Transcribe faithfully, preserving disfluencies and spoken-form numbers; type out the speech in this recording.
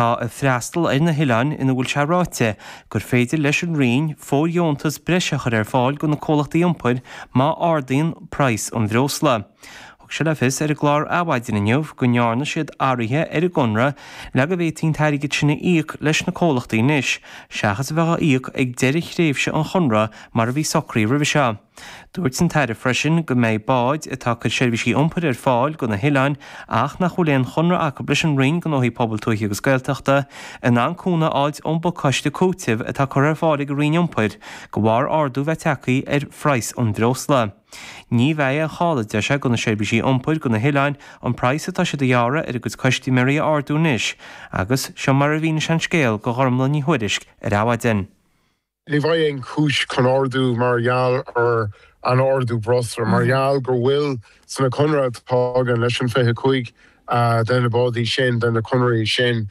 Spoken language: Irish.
atá ag freastal ar na hoileáin ina bhfuil sé ráite gur féidir leis an Roinn fóirdheontas breise a chur ar fáil do na comhlachtaí iompair má ardaíonn praghas an bhreosla. Thug sé le fios ar an gclár Adhmhaidin inniu go ndearna siad athruithe ar an gconradh le go bhféadfaí an t-airgead sin a íoc leis na comhlachtaí anois, seachas a bheith á íoc ag deireadh thréimhse an chonradh mar a bhí socraithe roimhe seo. Dúirt an tAire freisin go mbeidh báid atá ag cur seirbhísí iompair ar fáil do na hoileáin ach nach bhfuil aon chonradh acu leis an Roinn Gnóthaí Pobail Tuaithe agus Gaeltachta in ann cúnamh a fháilt ón bpacáiste cúitimh atá curtha ar fáil ag an Roinn Iompair de bharr ardú bheith tagtha ar phraghas an bhreosla. Ní bheidh aon chall, a deir sé, do na seirbhísí iompair do na hoileáin an praghas atá siad a ghearradh ar a gcuid custaiméirí a ardú anois, agus seo mar a mhínigh sé an scéal do Ghormlaith Ní Thuairisg ar Adhmhaidin. Ní bheidh aon chúis chun ardú mar gheall ar an ardú breosla, mar gheall go bhfuil sna conradh atá againn leis an fiche cúig de na bádaí sin de na conairí sin